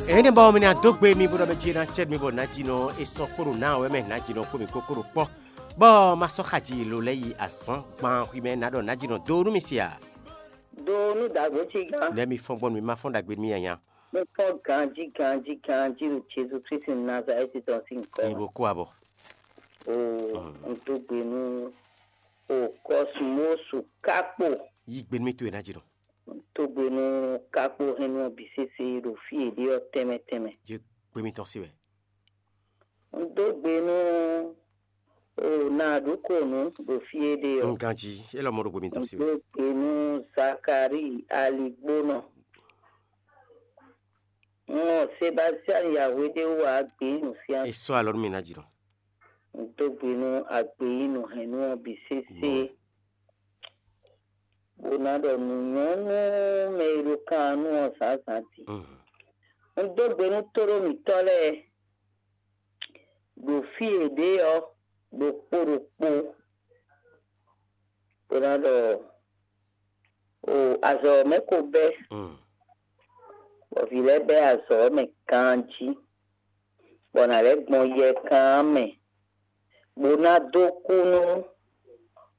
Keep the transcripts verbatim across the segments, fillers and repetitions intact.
Ɛnɛ bɔ mi ná dó gbe mi bó ɖɔ mɛ jí ná cɛ mi bɔ nǎjínɔ e sɔ́ kpó ɖo ná wɛ mɛ nǎjínɔ kpó mi kókó ɖo kpɔ́, bɔ ma sɔ́ xaji lo lɛ́ yi azɔ̌ gban xwi mɛ ná ɖɔ nǎjínɔ dó nú mi se a? Do nú dǎgbó cí gán. Nɛ̌ mi fɔ́n gbɔn nú mi ma fɔ́n ɖagbe nú mi anya? Mo fɔ́n ganjí ganjí ganjí ɖo Jezu Kristi Nazalɛ́ti tɔn sín nyǐkɔ Nyi mɛ. Bo kú abɔ. O Mm. Un dó gbe nú o Kɔsmósu Kákpo. Yí gbe nú mi towe nǎjínɔ. Un dó gbe nú Kákpo hɛn nú ɔ́ bǐ sésé ɖo fí e ɖe ɔ́ tɛnmɛ tɛnmɛ. Yí gbe mitɔn se wɛ. Un dó gbe nú o Naɖukonu ɖo fí e ɖe ɔ́. Un ganjí, é lɔ mɔ ɖo gbe mitɔn Un se wɛ. Dó gbe nú Zakalíi aligbónɔ. Un mɔ Sebastiani Yahweh ɖé wú ǎ gbě nǔ fíán. É sɔ́ alɔ nú mi nǎjínɔ. Un dó gbe nú agbeyínú hɛ̌nnu ɔ́ bǐ sésé, Mɔ. Bó ná ɖɔ nǔ nyɔ́ nú mɛ e ɖo kan ɔ́ nú ɔ́ zǎnzǎn din. Mhm. Un dó gbe nú tóɖó mǐtɔn lɛ́ɛ ɖo fí e ɖě ɔ́ ɖokpó ɖokpó, bó ná ɖɔ o azɔ̌ ɔ́ mɛ ko bɛ́, Mm. Bɔ vǐ lɛ́ɛ bɛ́ azɔ̌ ɔ́ mɛ ganjí, bɔ nǎ lɛ́ gbɔn yɛkan ɔ́ mɛ, bó ná dó kú nú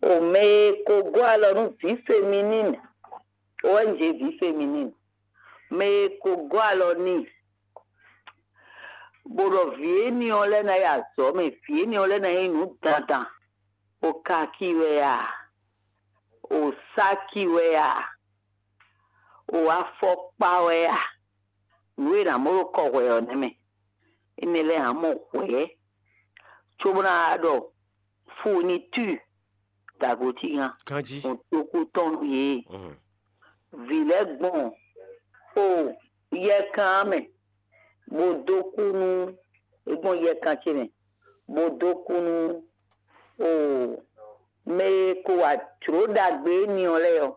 o mɛ e ko gɔ́ alɔ nú vǐ feminine, o wɛ un jɛ vǐ feminine, mɛ e ko gɔ́ alɔ n'i, bó ɖɔ vǐ éní ɔ́ lɛ́ ná yi azɔ̌ mɛ, vǐ éní ɔ́ lɛ́ ná nyí nǔ dandan, o kaki wɛ a, o sáki wɛ a, o afɔkpa wɛ a, nǔ e è nǎ mɔ ɖo kɔ hwɛ ɔ́ nɛ́ mɛ. Énɛ́ lɛ́ɛ ǎ mɔ hwɛ̌, cóbó ná wá ɖɔ fourniture dǎgbo cí gán. Ganjí. Un dó kú tɔn nú yě. Mhm. Vǐ lɛ́ɛ gbɔn o yɛkan ɔ́ mɛ, bó dó kú nú é gbɔn yɛkan ce mɛ, bó dó kú nú o mɛ e ko wa jlǒ ɖagbe éní ɔ́ lɛ́ɛ ɔ́,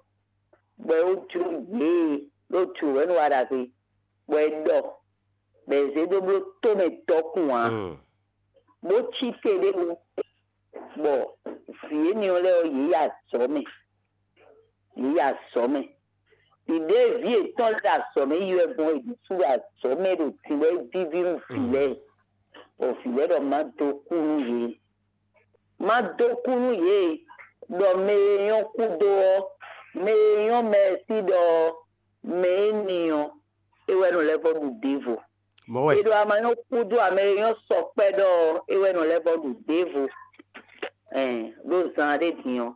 bɔ é wó jló yě e ɖó jlǒ wɛ nú wa ɖagbe, bɔ é ɖɔ, bɔ è zě dó bló tómɛ dɔkun ǎ, Mm. bó cí te ɖé wú, bɔ vǐ éní ɔ́ lɛ́ɛ ɔ́, yě yi azɔ̌ mɛ, yě yi azɔ̌ mɛ. Ɖiɖě vǐ yětɔn lɛ́ɛ ɖo azɔ̌ mɛ yi wɛ gbɔn, è ɖésú ɖo azɔ̌ mɛ ɖo din bɔ é víví nú vǐ lɛ́ɛ, bɔ vǐ lɛ́ɛ ɖɔ má dó kú nú yě. Má dó kú nú yě, ɖɔ mɛ e nyɔ́ kúdo ɔ́, mɛ e nyɔ́ mɛ sí ɖɔ ɔ́, mɛ éní ɔ́, é wɛ nɔ lɛ́ vɔ́ ɖu ɖěvo. Mɔ̌ wɛ. È ɖo ama nyɔ́ kúdo ame e nyɔ́ sɔkpɛ́ ɖɔ ɔ́, é wɛ nɔ lɛ́ vɔ́ ɖu ɖěvo. Ɛn, ɖó zan ɖé din ɔ́,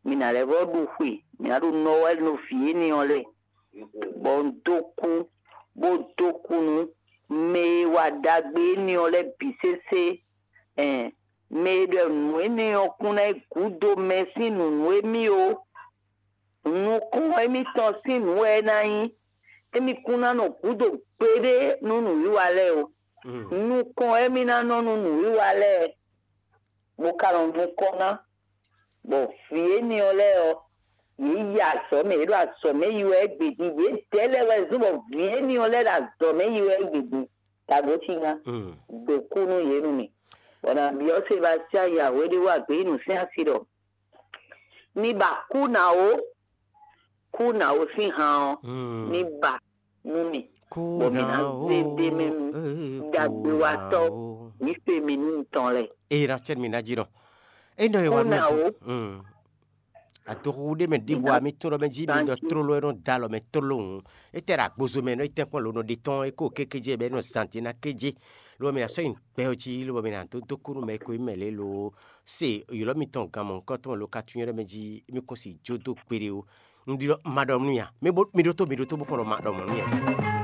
mi ná lɛ́ vɔ́ ɖu xwe, mi ná ɖo nɔ wɛ nú vǐ éní ɔ́ lɛ́ɛ, bɔ un dó kú, bó dó kú nú mɛ e wa ɖagbe éní ɔ́ lɛ́ɛ bǐ sésé. Ɛn, mɛ e ɖɔ nǔ énɛ́ ɔ́ kún ná yi gǔdo mɛ sín nǔnú émí ó. Nukɔn émítɔn sín nǔ wɛ é ná nyí. Émí kún ná nɔ gǔdo gbeɖé nú nǔwiwa lɛ́ɛ ó. Mm. Nukɔn émí ná nɔ nú nǔwiwa lɛ́ɛ, bó ka nɔ nukɔn ná. Bɔ vǐ éní ɔ́ lɛ́ɛ ɔ́, yě yi azɔ̌ mɛ, yě ɖo azɔ̌ mɛ yi wɛ égbé din. Yědɛɛ lɛ́ɛ wɛ zɔ́n bɔ vǐ éní ɔ́ lɛ́ɛ ɖo azɔ̌ mɛ yi wɛ égbé din. Tagbó cí ná Mm. Dǒ kú nú yě nú mì. Bɔ nǎ byɔ́ Sebastian yi ahwé ɖé wú agběyínú sín asi ɖɔ: Mi ba kú ná ó, kú ná ó sín han ɔ́, Mm. mi ba nú mì, Kú bɔ mi ná ná ó, zé ɖ'é mɛ nú eh, kú ɖagbewatɔ́ ná ó. Mǐ fe mi nú tɔn lɛ́ɛ. Eye ná cɛ mi ná jí nɔ. Enɔ e Kú wá ná nɔ ó. Mm. Adoxuxu ɖé mɛ ɖěvo Iná a mi tún ɖɔ mɛ jí mi ɖɔ ganjí. Tlóló e nɔ da alɔ mɛ tlóló hǔn. Étɛ́ ɖo agbozo mɛ nɔ é tɛ́nkpɔ́n lǒ nɔ ɖe tɔn é kó kékéjé bɔ é nɔ zan din ná kéjé. Lobɔ mi ná sɔ́ nyi gbɛ ɔ́ jí lobɔ mi ná dó dó kú nú mɛ e ko nyí mɛ lě lo se ylɔ́ mitɔn gan mɔ̌hunkɔtɔn lo ka tunwun ɖɔ mɛ jí mi kún si jó dó gbeɖé ó. Un ɖi ɖɔ ma ɖɔ nú ya. Mi bo mi ɖótó mi ɖótó bó kɔn ɖɔ ma ɖɔ mɔ̌ nú ya.